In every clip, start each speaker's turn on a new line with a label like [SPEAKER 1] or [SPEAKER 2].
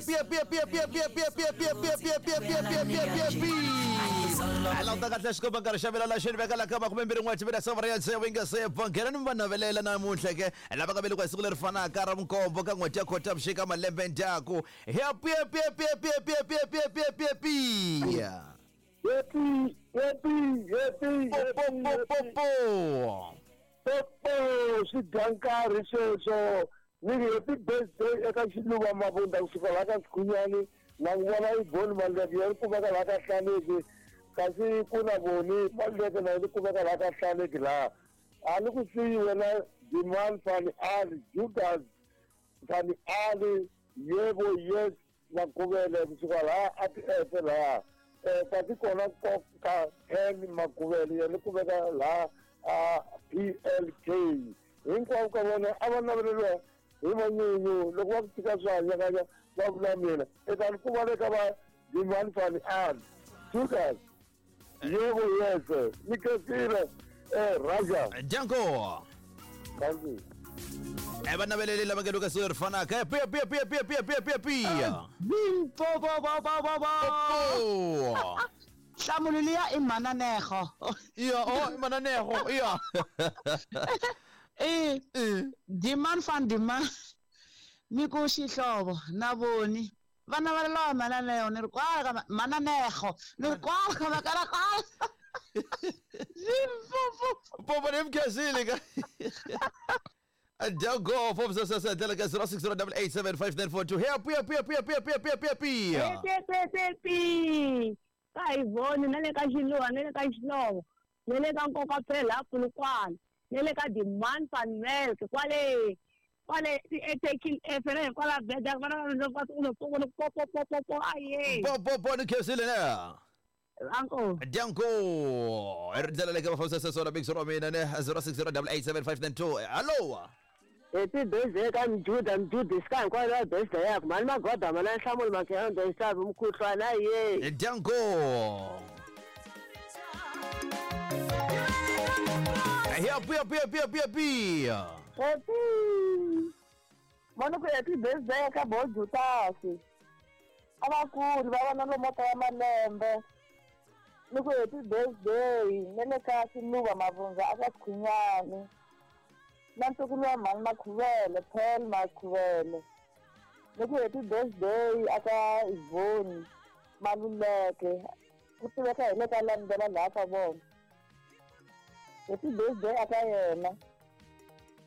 [SPEAKER 1] Pia pia pia pia pia pia pia pia pia pia pia pia pia pia pia pia languta kahle xikomba nkarhi xa mina la xi ni veka la ka 21 timina sava ya tsevu yi nga se pfa nghena ni va navelela namuntlha ke lava nga velekiwa hi siku leri fanaka ra vunkombo ka n'hweti ya Khotavuxika malembe ndyaku happy happy happy happy happy happy happy happy happy
[SPEAKER 2] Happy, happy, happy,
[SPEAKER 1] po po po po po
[SPEAKER 2] po swi dya nkarhi sweswo ni ri happy birthday eka Xiluva Mabunda kusuka laha ka Sikhunyani na ku vona Yvonne Maluleke ya ri kumeka laha ka Hlaneki kasi ku na Voni Maluleke na yi kumeka laha ka Hlaneki laha a ni ku siyi wena Diman Fani Ali Judas Fani Ali Yebo Yes Maguvele kusuka laha a ti-efe laha kasi kona nkoka Ken Maguvele yena kumeka laha a PLK hinkwavo ka vona a va naveleriwa hi manyunyu loko va ku tika swi hanyakanya va vula mina eka ku va le ka va Dimani Fani Ali Judas Yebo yese ni khensile Raja
[SPEAKER 1] Janko
[SPEAKER 2] thank you
[SPEAKER 1] e va naveleli lava nga le ka siku leri fanaka pia pia pia pia pia pia pia pia
[SPEAKER 3] Bo bo bo bo bo bo.
[SPEAKER 1] po
[SPEAKER 3] Nhlamulo liya i mhananego.
[SPEAKER 1] iya oh i mananego iya
[SPEAKER 3] Eh, Diman van Diman. Ni ku xihlovo na voni. Vana va lava mhananego ni ri kwala ka mhananego ni ri kwala ka makala kwala. Limpopo.
[SPEAKER 1] popo ni mkhensile ka Janko four six six ndlela ka 0608875942 happy happy happy happy happy happy happy happy
[SPEAKER 4] Happy ka Ivoni na le ka Xiluva na le ka Xihlovo na le ka Nkoka phela Polokwane na le ka Demand Van Melk kwale kwale eTekil F kwala Veda vana va po po po po po aye
[SPEAKER 1] po po po ni khensile ne
[SPEAKER 4] uncle
[SPEAKER 1] Janko i ri ndlela leyi ka va fambisa swona big zero mina ne 0608875942 hello
[SPEAKER 5] Happy birthday ka Mjuda Mjuda sika hinkwayo ya birthday yakho mani magoda mana nhlamulo makhendo nhlavi mukhuhlwana ye
[SPEAKER 1] Janko happy happy happy happy happy
[SPEAKER 4] happy mani ku happy birthday ka Bo Jutasi a vakulu va vana lomu ka ya malembe ni ku happy birthday na le ka Xiluva Mavundza a ka Sikhunyani na ntukulu wa mhani Makhuvele Pearl Makhuvele ni ku happy birthday a ka Ivoni Maluleke ku tiveka hi le ka Lambela laha ka vona happy birthday a ka yena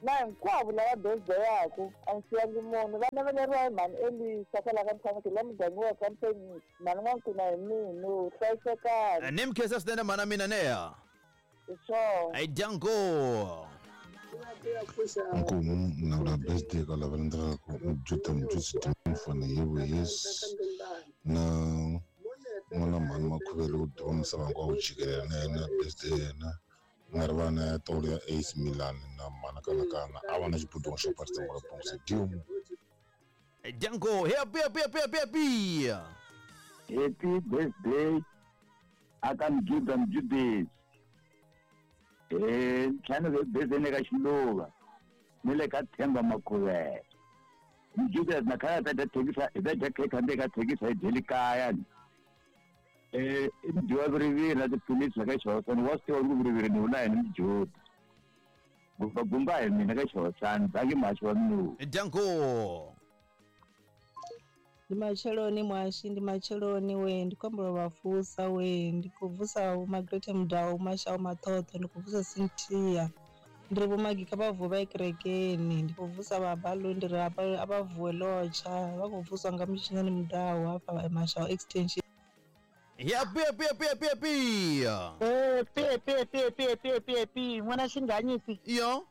[SPEAKER 4] na hinkwavo lava birthday yaku a ni siyangi munhu va naveleriwa hi mhani Elisa kwala ka Mthaniki la muganga wa ka Mthenisi mhani N'wankuna hi mina hlayisekani
[SPEAKER 1] ni mkhensa swinene mhana mina neya
[SPEAKER 4] hi swona
[SPEAKER 1] ai Janko
[SPEAKER 6] Nkomu navula birthday ka lava landzelaka Mjuda Mjusi Dimfana Yebo Yes na n'wana mhani Makhuvele wo diwa misava hinkwawo jikelele na yena birthday yena nga ri vana ya tolo ya AC Milan na mhana kanakana a va na xibudungo xo parisa ngolo bongse dimu
[SPEAKER 1] Janko happy happy happy happy happy
[SPEAKER 2] happy birthday aka Mjuda Mjudesi ntlhanu birthday ni ka Xiluva ni le ka Themba Makhuvele Mjuda na khaya ta dya thekisa hi ta dya khekhe handle ka thekisa hi dyeli kaya ni i mudyiwa viriviri na tiphilisi la ka Xihosani wa swi tiva ku viriviri ni vula yini Mjuda gumba gumba hi mina ka Xihosani bangi mhaxi wa minuhu
[SPEAKER 1] Janko
[SPEAKER 7] Ndi matsheloni mwashi ndi matsheloni we ndi khou humbela u vha vusa we ndi khou vusa Vho Margaret Mudau Mashau Maṱhoṱho ndi khou vusa Cynthia ndi ri Vho Magi kha vha vuwe vha ye kerekeni ndi khou vusa vha Balu ndi ri a vha vuwe lotsha vha khou vuswa nga Mutshinyani Mudau hafha Mashau extension.
[SPEAKER 1] Happy happy happy happy happy
[SPEAKER 3] Happy happy happy happy happy happy happy n'wana Xinganyisi
[SPEAKER 1] yo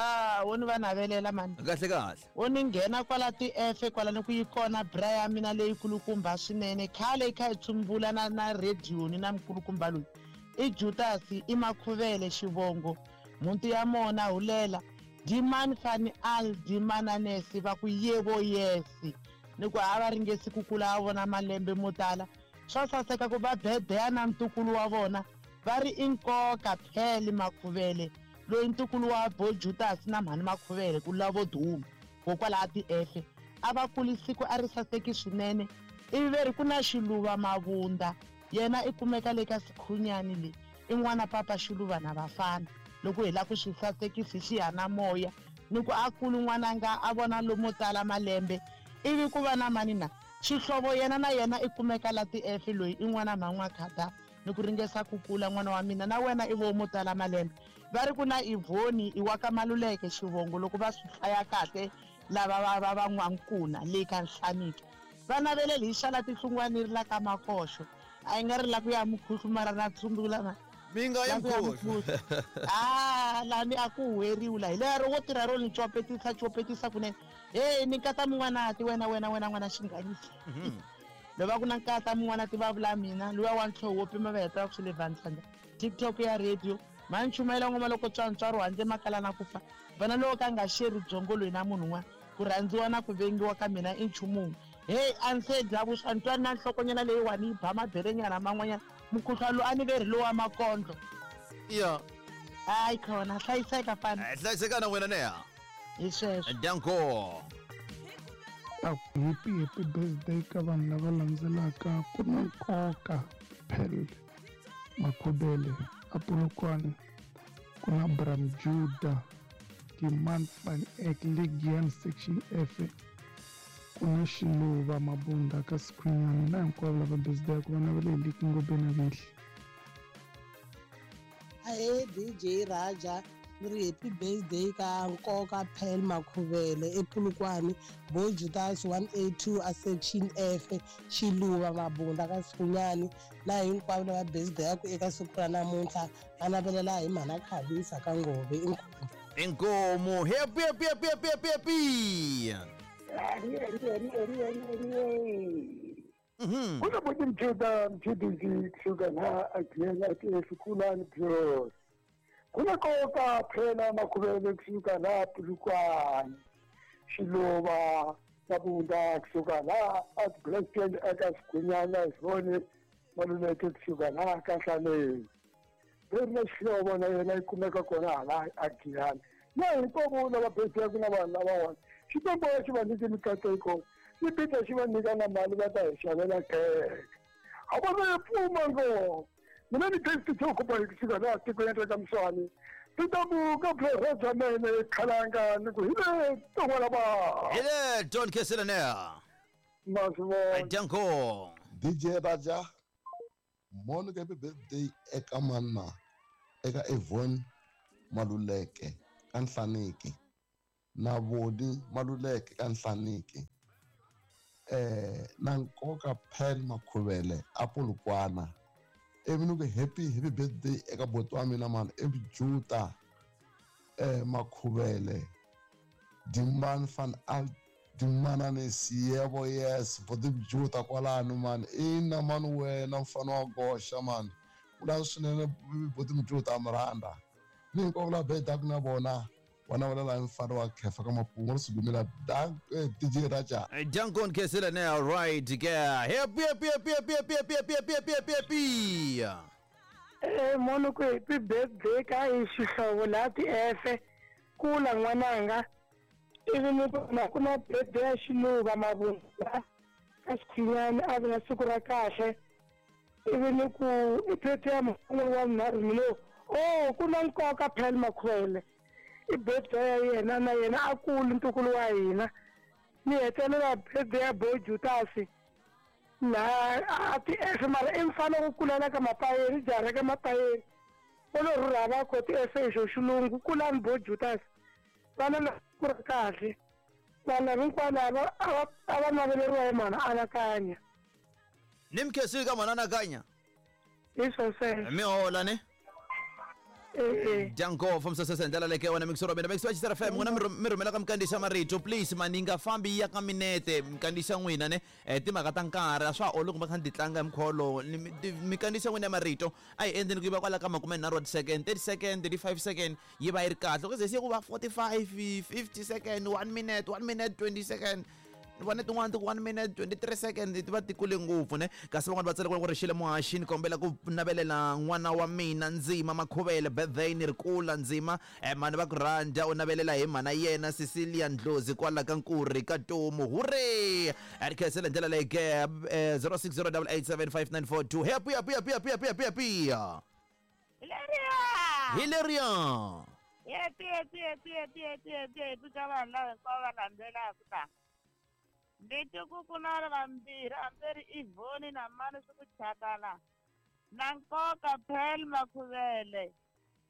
[SPEAKER 3] ah wo ni va navelela mani
[SPEAKER 1] kahle kahle
[SPEAKER 3] wo ni nghena kwala ti-efe kwala ni ku yi kona bra ya mina leyi kulukumba swinene khale yi kha yi tsumbula na na radio ni na mukulukumba loyi i Judasi i Makhuvele xivongo mhunti ya mona hulela Diman Fani Al Dimananesi va ku yebo yesi ni ku a va ringesi ku kula a vona malembe mo tala swa saseka ku va bedeya na ntukulu wa vona va ri i nkoka Phele Makhuvele loyi ntukulu wa Bo Judas na mhani Makhuvele ku lavo duma kokwalaha ti-efe A va kuli siku a ri saseki swinene. Ivi ve ri ku na Xiluva Mavunda, yena i kumeka le ka Sikhunyani le, i n'wana papa Xiluva na vafana. Loko hi la ku swi sasekisa hi xiyanimoya, ni ku a kuli n'wananga a vona lomo tala malembe. Ivi ku va na mani na? Xihlovo yena na yena i kumeka la ti-F loyi i n'wana mhan'wa-khada ni ku ringesa ku kula n'wana wa mina na wena i vo mo tala malembe. Va ri ku na Ivhoni i wa ka Maluleke xivongo loko va swi hlaya kahle lava va va va N'wankuna le ka Nhlaniki. Va naveleli hi xala tihlungwani ri la ka Makoxo. A yi nga ri la ku ya mukhuhlu mara na tsumbula na.
[SPEAKER 1] Mi nga yi
[SPEAKER 3] La ku ya
[SPEAKER 1] mukhuhlu.
[SPEAKER 3] mukhuhlu. Ah, lani a ku huweriwi la. Hi lero wo tirha ro ni copetisa copetisa kunene. Hey, ni nkata mun'wanati wena wena wena n'wana xinghanyisi. Loko va ku na nkata mun'wanati va vula mina, luya wa ntlhoho wo pima va heta va ku swi le Vantlhandla. TikTok ya radio, mhani chumayela ngoma loko tswa ntswaro handle makala na ku fa. Vana loko ka nga xeri byongo loyi na munhu un'wana, ku rhandziwa na ku vengiwa ka mina i nchumu wun'we. Hey, a ni se dya vuswa ni twa ni na nhlokonyana leyiwani yi ba maberenyana man'wanyana. Mukhuhlwani lowu a ni verhi lowa makondlo.
[SPEAKER 1] Ya.
[SPEAKER 3] Hayi khona, hlayiseka fana.
[SPEAKER 1] Hlayiseka na wena neha.
[SPEAKER 3] Hi sweswo.
[SPEAKER 1] Danko.
[SPEAKER 8] A ku happy happy birthday ka vanhu lava landzelaka ku na nkoka Pearl Makhubele a Polokwane ku na Bram Judah Diman van Eck Legian section F ku na Xiluva Mabunda ka Sikhwinyani na hinkwavo lava birthday ku va navele hi Liki Ngobeni Vihli.
[SPEAKER 7] Ahee DJ Raja ni ri happy birthday ka nkoka Pearl Makhuvele ePolokwane Bo Judas 182 a section F Xiluva Mabunda ka Sikhwinyani na hinkwavo lava birthday yaku eka siku ra namuntlha va navelela hi mhana Khavisa ka Ngove inkomu.
[SPEAKER 1] Inkomu. Happy happy happy happy happy happy.
[SPEAKER 2] Kuna boti mjuda mjudisi kusuka la agiyela esikhulani bros. Kuna koka phela makhubele kusuka la Polokwane. Xiluva Mabunda kusuka la at Blackton eka Sigwinyana Sivone Maluleke kusuka la ka Hlaleni. Veri na xihlovo na yena yi kumeka kona hala Agiyani. Na hinkwavo lava birthday na vanhu lavawani. Xikwembu xi va nyike mikateko. Ni pita xi va nyika na mali va ta hi xavela khekhe. A vona yi pfuma ngopfu. Mina ni testi xo kupa hi kusuka laha tikweni ra ka Mswani. Ti ta muka Professor Mene Khalanga ni ku hi le ton'wana va.
[SPEAKER 1] Hi le Don Kesela neha.
[SPEAKER 2] Masivona.
[SPEAKER 1] Danko.
[SPEAKER 6] DJ Raja mono happy birthday eka mana eka Evon Maluleke ka Nhlaniki na Voni Maluleke ka Nhlaniki na nkoka Pearl Makhuvele a Polokwana ivi ni ku happy happy birthday eka boti wa mina mani i Juta Makhuvele Dimani van Al Dimanani Siyebo yes boti Juta kwalano mani ina mani wena mfana wa goxa mani vula swinene boti Mjuta mi rhandza ni hinkwavo lava bedaka na vona vana va la mfana wa khefa ka mapungu ri sugumela DJ Raja.
[SPEAKER 1] Danko Kesela neha right ke. Happy happy happy happy happy happy happy happy happy happy.
[SPEAKER 9] Mono ku happy birthday ka hi xihlovo la ti-F kula n'wananga ivi ni vona ku na birthday ya Xiluva Mabunda ka Sikhwinyani a vi na siku ra kahle ivi ni ku i birthday ya mhun'we wa vunharhu ni lo oh ku na nkoka Pearl Makhwele i birthday ya yena na yena a kuli ntukulu wa hina ni hetelela birthday ya Bo Jutasi laha a ti-F mara i mfana ku kulela ka mapayeni jaha ka mapayeni o lo rhurha va kho ti-F hi xo xilungu kulani Bo Jutasi vana na ku ri kahle vanhu hinkwavo lava a va naveleriwa hi mhana anakanya.
[SPEAKER 1] Ni mkhesile ka mhana anakanya.
[SPEAKER 9] Hi swo sweswo.
[SPEAKER 1] Mi hola ne? Danko from sasesa ndlela leke wena mixoro mina mixo wa FM n'wina mi rhumela ka mikandziyiso marito please mani nga fambi ya ka minete mikandziyiso n'wina ne timhaka ta nkarhi a swa ha olovi kumbe kha ni ti tlanga hi mukhuva wolowo mikandziyiso n'wina ya marito a hi endleni ku yi va kwala ka 30 wa ti-second 30 second 35 second yi va yi ri kahle loko ze se ku va 45 50 second 1 minute 1 minute 20 second Ni vone tin'wana ti ku 1 minute 23 second ti va ti kule ngopfu ne. Kasi van'wana va tsale ku ri xile muhaxi ni kombela ku navelela n'wana wa mina Ndzima Makhuvele birthday ni ri kula Ndzima mhani va ku rhandza u navelela hi mhana yena Cecilia Ndlozi kwala ka Nkuri ka Tomu. Hurray! A ri khensele hi ndlela leyi ke 0608875942. Happy happy happy happy happy happy happy.
[SPEAKER 4] Leriya!
[SPEAKER 1] Hi leriya.
[SPEAKER 4] Happy happy happy happy happy happy happy ka vanhu lava hinkwavo va landzelaka ta. Ni twi ku ku na vambirhi hambi ri Ivoni na mani swi ku chakala. Na nkoka Pearl Makhuvele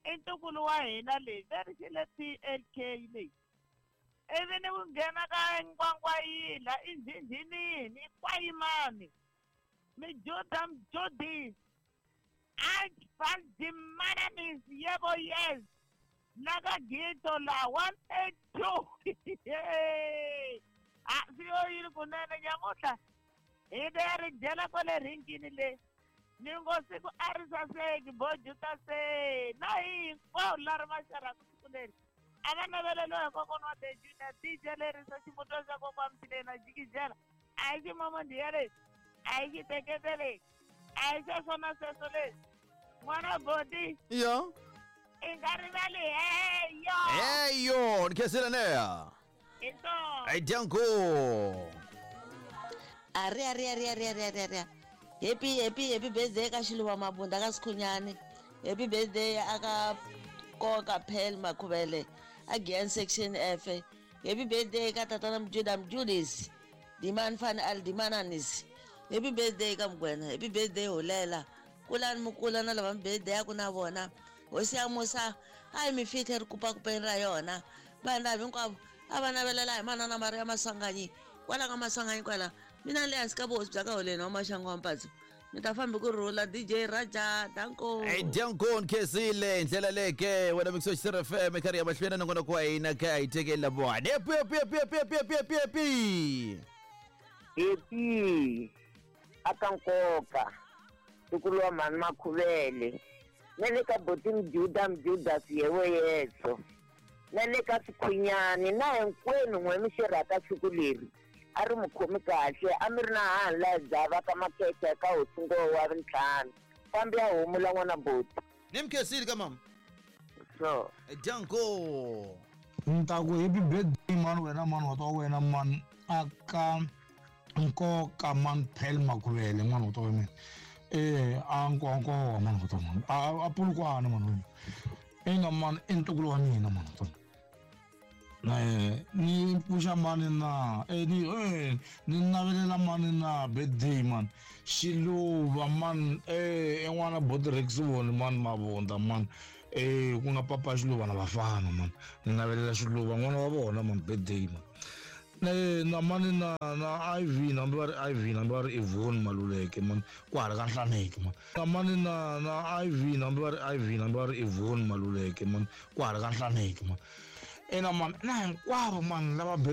[SPEAKER 4] i ntukulu wa hina leyi ve ri xi le P_L_K leyi. Ivi ni ku nghena ka Nkwangwayila i Ndhindhinini i Kwayimani Mijuda Mjudisi Alfaldimananisi yebo yes na ka Gito la 182 a swi yo yini kunene nyamutlha hi ta ya ri dyela kwale rhinkini le ni ngo siku a ri saseki bojuta se na hi hinkwawo la ri maxarhaku siku leri a va naveleliwa hi kokwana wa Dejuna DJ lerisa ximuto xa kokwana Mtshileni jikijela a hi ximomondiya lexi a hi xitekete lexi a hi sweswo na sweswo leswi n'wana boti
[SPEAKER 1] Yo.
[SPEAKER 4] i nga rivali heyo
[SPEAKER 1] Heyo, ni khensile neya.
[SPEAKER 4] hi tona
[SPEAKER 1] Ai dyangu.
[SPEAKER 10] Ari ari ari ari ari ari ari. Happy happy happy birthday ka Xiluva Mabunda ka Sikhunyani. Happy birthday aka Koka Pearl Makhuvele a Giyani section F. Happy birthday ka tatana Mjuda Mjudisi. Diman Fan Al Dimananis. Happy birthday ka Mugwena. Happy birthday Holela. Kulani mukula na lava birthday ya ku na vona. Hosi ya Musa a yi mi fihle ri kupakupeni ra yona. Vanhu lava hinkwavo a va navelela hi manana Maria Maswanganyi. Kwala ka Maswanganyi kwala mina le hansi ka vuhosi bya ka Holeni wa Maxangu wa Mpatso. Mi ta fambi ku rhula DJ Raja danko.
[SPEAKER 1] Ai dyangu ni khensile hi ndlela leyi ke wena mixo xi FM karhi ya mahlweni na nongonoko wa hina ka hi tekeli vona. Happy happy happy happy happy happy happy.
[SPEAKER 11] Happy aka nkoka ntukulu wa mhani Makhuvele na le ka boti Mjuda Mjudasi yewe yeso na le ka Sikhunyani na hinkwenu n'we mi xerhaka siku leri a ri mi khomi kahle a mi ri na hanhu laha dzava ka makhekhe ka hosi Ngowa wa vuntlhanu fambi ya humula n'wana boti.
[SPEAKER 1] Ni mi khensile ka mama.
[SPEAKER 11] So.
[SPEAKER 1] Dyangu.
[SPEAKER 12] Ni ta ku happy birthday mani wena mani wa ta wena mani aka nkoka mani Pearl Makhuvele n'wana wa ta wa mina a nkonkowa mani wa ta mani a Polokwane mani wa mina ina mani i ntukulu wa mina mani wa ta ni pfuxa mani na ni ni navelela mani na birthday mani Xiluva mani i n'wana Botrexivoni mani Mavunda mani ku nga papa Xiluva na vafana mani ni navelela Xiluva n'wana wa vona mani birthday mani na mani na na Iv hambi va ri Iv hambi va ri Ivoni Maluleke mani kwahala ka Nhlaneki mani na mani na na Iv hambi va ri Iv hambi va ri Ivoni Maluleke mani kwahala ka Nhlaneki mani ina mani na hinkwavo mani lava.